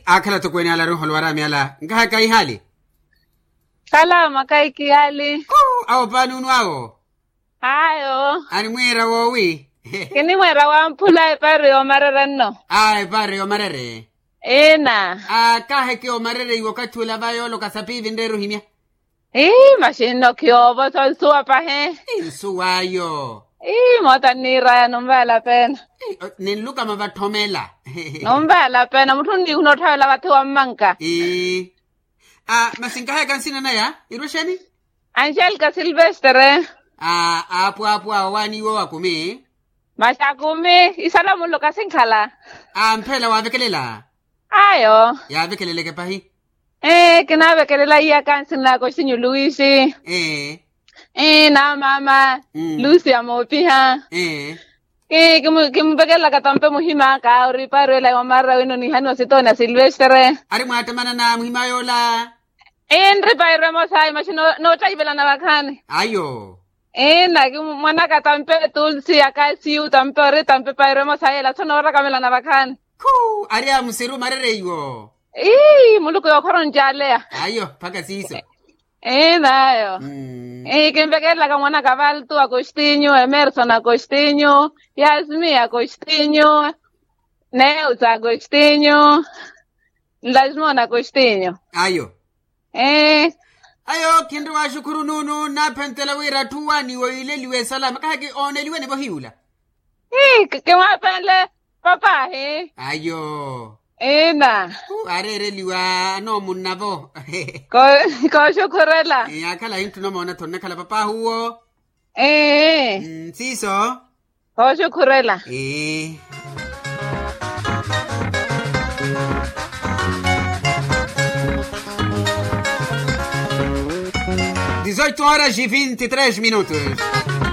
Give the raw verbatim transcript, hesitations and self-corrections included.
Aakhala tokweene ala arinholo waraamyala nkahaka ihaali. Khala makaiki yaali. Awo paani unu awo. Ayo. Animwiira woowi? Kinimwiira wamphula epaari yoomarere nno. A epaari yoomarere. Ina. Akaheke omarere iwo okathi ula va yooloka sapiivi nreera ohimya. Ii masi nno khiyoovo so nsuwa pahi. Nsuw'ayo. Ii moota nniiraya nunvaala pena. Ninlukama vatthomela. Nunvaala pena mutthu nniihuna otthavela vathi wammanka. Ii. Masi nkahayaka nsina naya irwe xeeni? Angelika silvestere. Aapwaapwa owaani iwo akumi. Masi akumi isala munlo kasinkhala. Ampheela waavekelela. Ayo. Yaavekeleleke pahi. Ee kinaavekelela iyaka nsina naka oxinyu luwisi. Ee. Ee na maama lucia moopiha. Ee. Ee kimuvekelelaka tampe muhim'aka ori paari ela yoomarera wino niihaniwa sitooni a silvestere. Ari mwaattamanana muhima yoola. Ee nri pairo emosa ayi masi noottayivelana vakhaani. Ayo. Ee na kimwanaka tampe tulsi akasiyu tampe ori tampe pairo emosa yeela so noorakamelana vakhaani. Khuu ari amusiru marereiwo. Ii muluku yookhora oncaaleya. Ayo mpakha siiso. Ee nayo. Ee kinvekelelaka mwanaka valtu agostinyu emerson agostinyu, yasmi agostinyu, neus agostinyu, nlasmon agostinyu. Ayo. Ee. Ayo khinri waxukhuru nuunu nnaaphentela wira atthu owaaniwa oileliwa esalama kahaki ooneliwe nivo hiyula. Ii kimwaapenle. Papaahi. Ayo. Ina. Areereliwa anoomunnavo. Kooxukhurela. Yaakhala ahintthuna omoona-tho nnakhala papaahi uwo. Ee. Siiso. Kooxukhurela. Ee. Dezoito horas e vinte e três minutos.